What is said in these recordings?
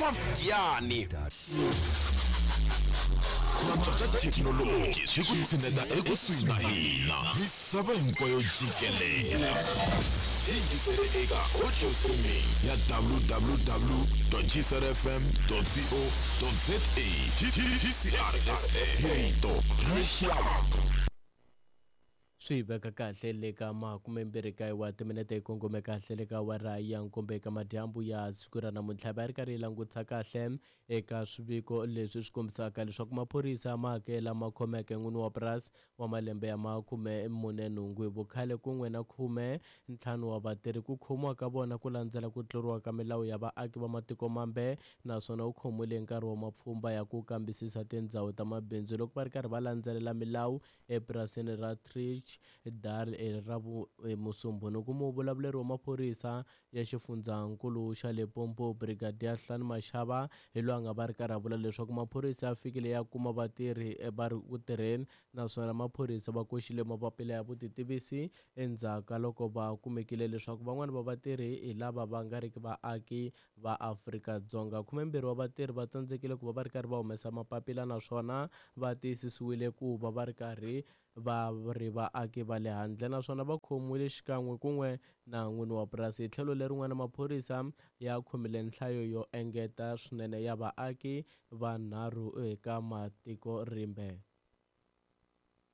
Pump Giyani. Ku antswa ka thekinoloji swi ku tshineta ekusuhi na hina misava hinkwayo jikelele. Hi yingisele eka audio streaming ya www.gcrfm.co.za. GCRFM, hi rito ra rixaka. Swi veka kahle le ka 29 wa timinete, yi kongome kahle le ka awara ya 7 eka madyambu ya siku ra namuntlha. Va ri karhi yi langutisa kahle eka swiviko leswi swi kombisaka leswaku maphorisa ma hakela ma khomeke n'wini wa purasi wa malembe ya 48 hi vukhale kun'we na 15 wa vatirhi. Ku khomiwa ka vona ku landzela ku tluriwa ka milawu ya vaaki va matiko mambe, naswona u khomiwile hi nkarhi wa mapfhumba ya ku kambisisa tindhawu ta mabindzu loko va ri karhi va landzelela milawu epurasini ra Trich Dal ra Musumbhunuku. Muvulavuleri wa maphorisa ya xifundzankulu xa Limpopo, Brigadier Hlani Mashaba, hi loyi a nga va ri karhi a vula leswaku maphorisa ya fikile ya kuma vatirhi va ri ku tirheni, naswona maphorisa va koxile mapapila ya vutitivisi endzhaku ka loko va kumekile leswaku van'wana va vatirhi hi lava va nga riki vaaki va Afrika-Dzonga. 12 wa vatirhi va tsandzekile ku va va ri karhi va humesa mapapila, naswona va tiyisisiwile ku va va ri karhi va ri vaaki va le handle, naswona va khomiwile xikan'we kun'we na n'wini wa purasi. Hi tlhelo lerin'wana, maphorisa ya khomile nhlayo yo engeta swinene ya vaaki vanharhu eka matiko rimbe.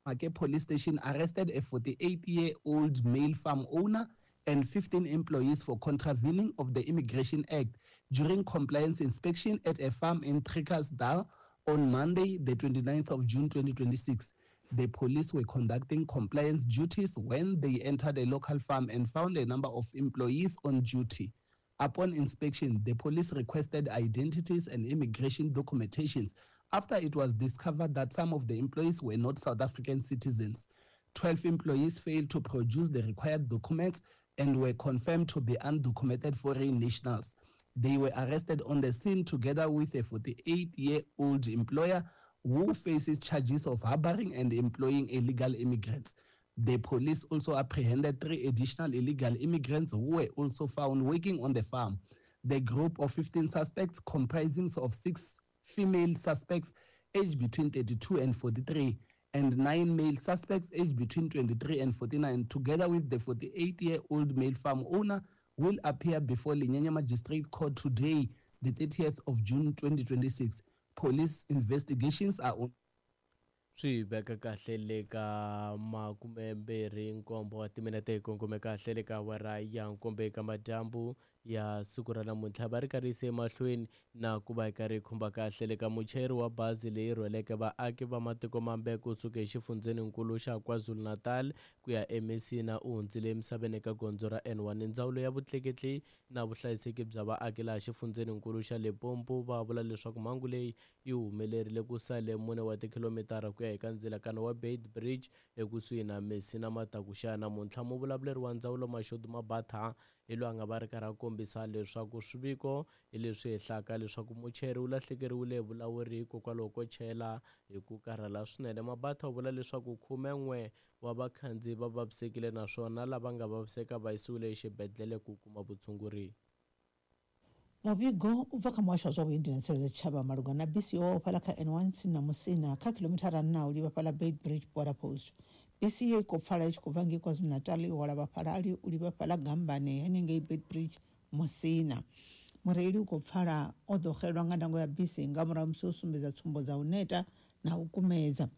Make Police Station arrested a 48-year-old male farm owner and 15 employees for contravening of the Immigration Act during compliance inspection at a farm in Trickasdal on Monday, the 29th of June 2026. The police were conducting compliance duties when they entered a local farm and found a number of employees on duty. Upon inspection, the police requested identities and immigration documentations after it was discovered that some of the employees were not South African citizens. 12 employees failed to produce the required documents and were confirmed to be undocumented foreign nationals. They were arrested on the scene together with a 48-year-old employer who faces charges of harboring and employing illegal immigrants. The police also apprehended 3 additional illegal immigrants who were also found working on the farm. The group of 15 suspects, comprising of 6 female suspects aged between 32 and 43 and 9 male suspects aged between 23 and 49, together with the 48-year-old male farm owner, will appear before Lenyenye Magistrate Court today, the 30th of June 2026. Police investigations are on. Swi veka kahle le ka 27 wa timinete, hi kongome kahle le ka awara ya 7 eka madyambu ya siku ra namuntlha. Va ri karhi yise emahlweni na ku va hi karhi hi khumba kahle le ka muchayeri wa bazi leyi rhweleke vaaki va matiko mambe kusuka exifundzheninkulu xa KwaZulu-Natal ku ya eMessina u hundzile emisaveni eka gondzo ra N1. Ndzawulo ya vutleketli na vuhlayiseki bya vaaki laha xifundzheninkulu xa Limpopo va vula leswaku mhangu leyi yi humelerile ku sale 4 wa tikhilomitara ku ya eka ndzilakano wa Beit Bridge ekusuhi na Messina matakuxa namuntlha. Muvulavuleri wa ndzawulo Mashudu Mabatha hi loyi a nga va ri karhi a kombisa leswaku swiviko hi leswi hehlaka leswaku muchayeri u lahlekeriwile hi vulawuri hikokwalaho ko chayela hi ku karhala swinene. Mabatha u vula leswaku 11 wa vakhandziyi va vavisekile, naswona lava nga vaviseka va yisiwile exibedhlele ku kuma vutshunguri. Muvhigo u bva kha muhasho wa zwa vhuendi na tsireledzo tshitshavha malugana na bisi yo waho fhaḽa kha N1 tsini na Musina kha khilomithara 4 u livha fhaḽa Beit Bridge border post. Bisi iyo i khou pfala i tshi khou bva ngei KwaZulu-Natal yo hwala vhafhalali u livha fhaḽa Gambane henengei Beit Bridge Musina. Mureili u khou pfala o ḓo xelwa nga ndango ya bisi nga murahu musi o sumbedza tsumbo dza u neta na u kumedza.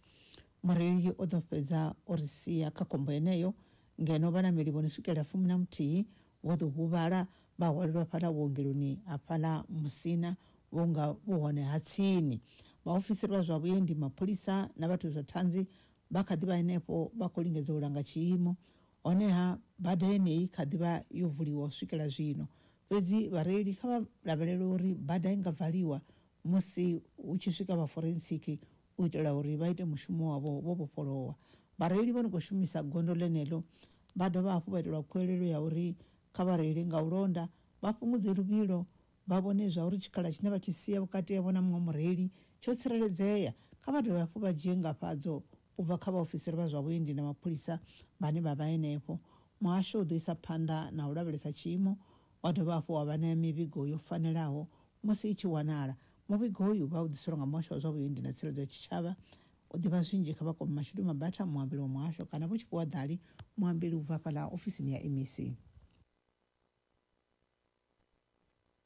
Mureili o ḓo fhedza o ri sia kha khombo yeneyo, ngeno vhanameli vho no swikela 11 vho ḓo huvhala vha hwalelwa fhaḽa vhuongeloni ha fhaḽa Musina vhunga vhu hone ha tsini. Vhaofisiri vha zwa vhuendi, mapholisa na vhathu zwa thanzi vha kha ḓivha henefho vha khou lingedza u langa tshiimo. Honeha bada yeneyi kha ḓivha yo vuliwa u swikela zwino, fhedzi vhareili kha vha lavhelele uri bada i nga valiwa musi hu tshi swika vha forensic u itela uri vha ite mushumo wavho vho vhofholowa. Vhareili vho no khou shumisa gondo ḽeneḽo vha dovha hafhu vha itelwa khuwelelo ya uri kha vhareili nga u londa vha fhungudze luvhilo, vha vhone zwa uri tshikhala tshine vha tshi sia vhukati havho na muṅwe mureili tsho tsireledzea. Kha vha dovhe hafhu vha dzhie ngafhadzo u bva kha vhaofisiri vha zwa vhuendi na mapholisa vhane vha vha henefho. Muhasho u ḓo isa phanḓa na u lavhelesa tshiimo, wa dovha hafhu wa vha ṋea mivhigo yo fanelaho Musi i tshi wanala. Muvhigo uyu vha u ḓiselwa nga muhasho wa zwa vhuendi na tsireledzo ya tshitshavha. U ḓivha zwinzhi kha vha kwame Mashudu Mabatha, muambeli wa muhasho, kana Vho Tshifhiwa Ḓali, muambeli u bva fhaḽa ofisini ya MEC.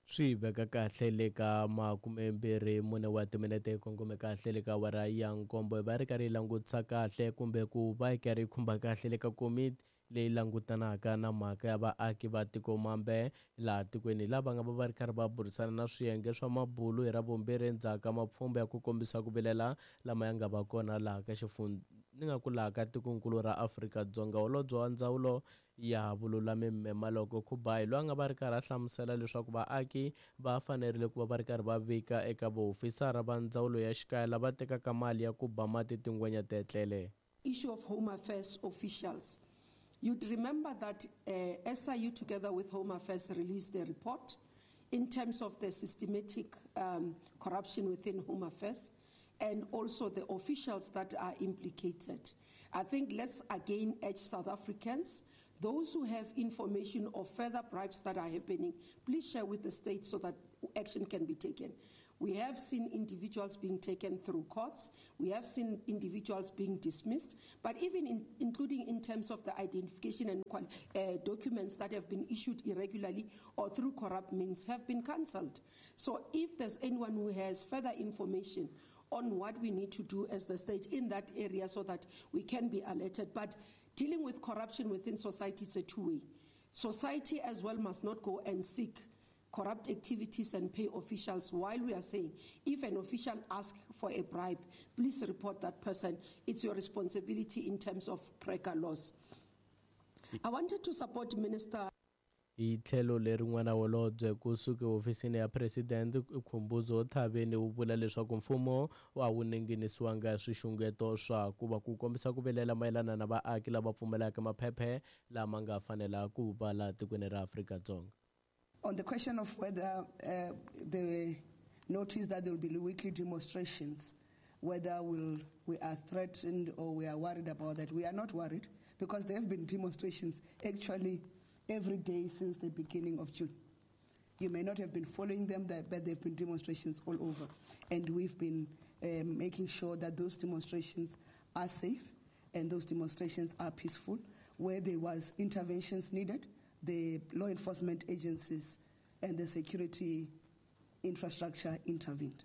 Swi veka kahle le ka 24 wa timinete yi kongome kahle le ka awara ya nkombo, hi va ri karhi yi langutisa kahle kumbe ku va yi karhi yi khumba kahle le ka komiti leyi langutanaka na mhaka ya vaaki va tiko mambe laha tikweni, lava nga va va ri karhi va burisana na swiyenge swa mabulu hi Ravumbirhi endzhaku ka mapfhumba ya ku kombisa ku vilela lama ya nga va kona laha ka ni nga ku laha ka tikonkulu ra Afrika-Dzonga. Holobye wa ndzawulo ya vululami Mme Maloko Kubayi, loyi a nga va ri karhi a hlamusela leswaku vaaki va fanerile ku va va ri karhi va vika eka vaofisara va ndzawulo ya xikaya lava tekaka mali ya ku ba mati tingwenya tetlele. Issue of Home Affairs officials. You'd remember that SIU together with Home Affairs released a report in terms of the systematic corruption within Home Affairs and also the officials that are implicated. I think let's again urge South Africans, those who have information of further bribes that are happening, please share with the state so that action can be taken. We have seen individuals being taken through courts. We have seen individuals being dismissed, but even including in terms of the identification and documents that have been issued irregularly or through corrupt means have been cancelled. So if there's anyone who has further information on what we need to do as the state in that area so that we can be alerted. But dealing with corruption within society is a two-way. Society as well must not go and seek corrupt activities and pay officials, while we are saying if an official asks for a bribe, please report that person. It's your responsibility in terms of PRECA laws. I wanted to support Minister Hi tlhelo lerin'wana, holobye kusuka ehofisini ya president Khumbudzo Thaveni wu vula leswaku mfumo a wu ninginisiwanga swixungeto swa ku va ku kombisa ku vilela mayelana na vaaki lava pfumelaka maphephe lama nga fanela ku va laha tikweni ra Afrika-Dzonga. On the question of whether the notice that there will be weekly demonstrations, whether we are threatened or we are worried about that, we are not worried, because there have been demonstrations actually every day since the beginning of June. You may not have been following them, but there have been demonstrations all over. And we've been making sure that those demonstrations are safe and those demonstrations are peaceful. Where there was interventions needed, the law enforcement agencies and the security infrastructure intervened.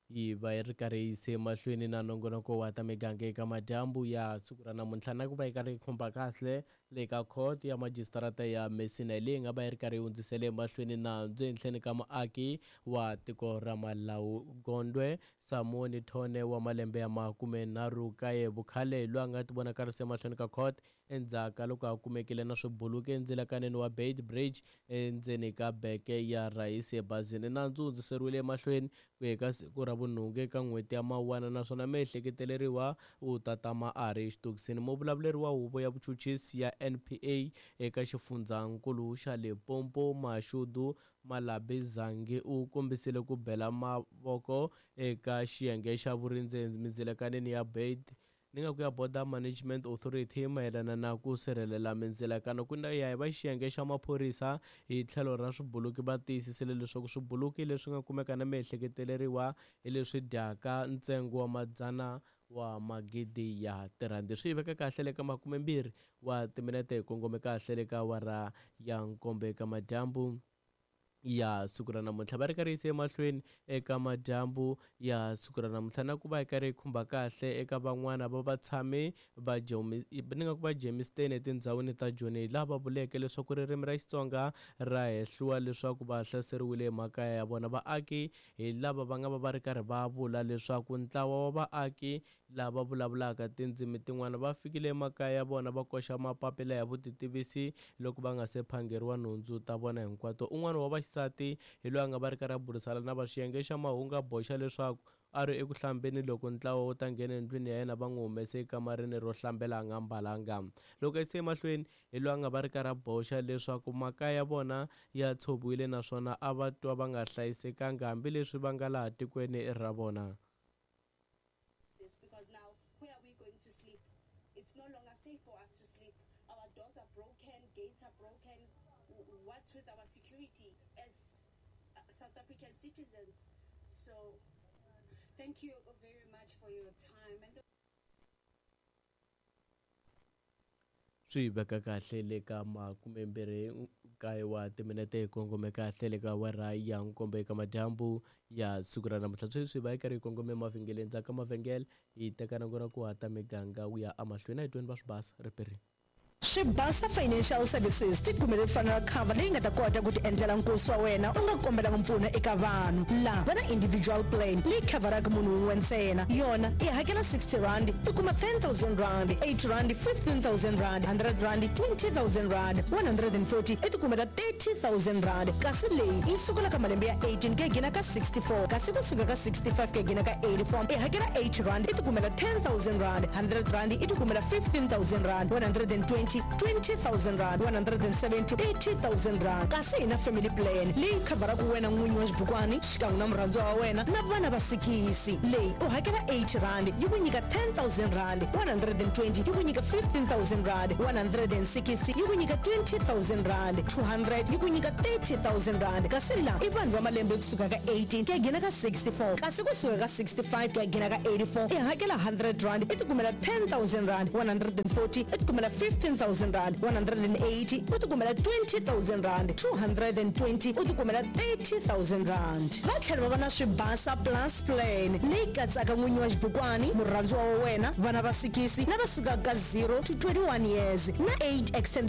Yi va yi ri karhi yi yise mahlweni na nongonoko wa ta miganga eka madyambu ya siku ra namuntlha, na ku va yi karhi yi khumba kahle le ka court ya majisitarata ya Messina, leyi nga va yi ri karhi yi hundzisele emahlweni nandzu ehenhleni ka muaki wa tiko ra Malawi Gondwe Samoni Thone wa malembe ya 39 vukhale, loyi a nga tivonakarisa emahlweni ka court endzhaku ka loko a kumekile na swibuluki endzilakaneni wa Beit Bridge endzeni ka beke ya rhayisi ebazini. Nandzu wu hundziseriwile emahlweni ku ya ka siku ra vunhungu eka n'hweti ya Mawuwana, naswona miehleketeleriwa u ta tama a ri exitokisini. Muvulavuleri wa huvo ya vuchuchisi ya NPA eka xifundzankulu xa Limpopo Mashudu Malabizangi u kombisile ku bela mavoko eka xiyenge xa vurindzi mindzilakaneni ya Beit ni nga ku ya Border Management Authority mayelana na ku sirhelela mindzilakano. Ku ya hi va xiyenge xa maphorisa hi tlhelo ra swibuluki va tiyisisile leswaku swibuluki leswi nga kumeka na miehleketeleriwa hi leswi dyaka ntsengo wa madzana wa magidi ya tirhandi. Swi veka kahle le ka 20 wa timinete hi kongome kahle le ka awara ya nkombo eka madyambu ya siku ra namuntlha. Va ri karhi yise emahlweni eka madyambu ya siku ra namuntlha na ku va yi karhi yi khumba kahle eka van'wana va vatshami va ni nga ku va Germiston etindhawini ta Joni, laha va vuleke leswaku ririmi ra Xitsonga ra hehliwa leswaku va hlaseriwile emakaya ya vona. Vaaki hi lava va nga va va ri karhi va vula leswaku ntlawa wa vaaki lava vulavulaka tindzimi tin'wana va fikile emakaya ya vona va koxa mapapila ya vutitivisi loko va nga se phangeriwa nhundzu ta vona hinkwato. Un'wana wa vaxisati hi loyi a nga va ri karhi a burisana na va xiyenge xa mahungu a boxa leswaku a ri eku hlambeni loko ntlawa wu ta nghena endlwini ya yena va n'wi humese ekamareni ro hlambela a nga mbalanga. Loko a yise emahlweni hi loyi a nga va ri karhi a boxa leswaku makaya ya vona ya tshoviwile naswona a va twa va nga hlayisekanga hambileswi va nga laha tikweni ra vona. Because now, where are we going to sleep? It's no longer safe for us to sleep. Our doors are broken, gates are broken. What with our security as South African citizens. So thank you very much for your time. And the Swi veka kahle le ka 29 wa timinete hi kongome kahle le ka awara ya nkombo eka madyambu ya siku ra namuntlha. Sweswi va yi karhi yi kongome emavhengeleni, ndzhaku ka mavhengele hi teka na ku hata miganga wu ya emahlweni. A hi tweni va swi basa ripirini. Swibasa Financial Services ti kumele funeral cover leyi nga ta kota ku ti endlela nkosi wa wena u nga kombelanga mpfuno eka vanhu. La va na individual plan leyi khavharaka munhu wun'we ntsena. Yona i hakela R60 i kuma R10,000, R80 R15,000, R100 R20,000, 140 i ti kumela R30,000. Kasi leyi yi sukela ka malembe ya 18 ku ya gina ka 64, kasi kusuka ka 65 ku ya gina ka 84 i hakela R80 i ti kumela R10,000, R100 i ti kumela R15,000, 120 R20,000, 170 R30,000. Kasi hi na family plan leyi khavharaka wena n'winyi wa xibukwani xikan'we na murhandziwa wa wena na vana va sikisi. Leyi u hakela R80 yi ku nyika R10,000, 120 yi ku nyika R15,000, 160 yi ku nyika R20,000, 200 yi ku nyika R30,000. Kasi la i vanhu va malembe kusuka ka 18 ku ya gina ka 64, kasi kusuka ka 65 ku ya gina ka 84 i hakela R100 i ti kumela R10,000, 140 i ti kumela R15,000, 180 u ti kumela R20,000, 220 u ti kumela R30,000. Va tlhela va va na Swibasa Plus plan leyi katsaka n'winyi wa xibukwani, murhandziwa wa wena, vana va sikisi na va sukaka ka 0 to 21 years na 8 extended.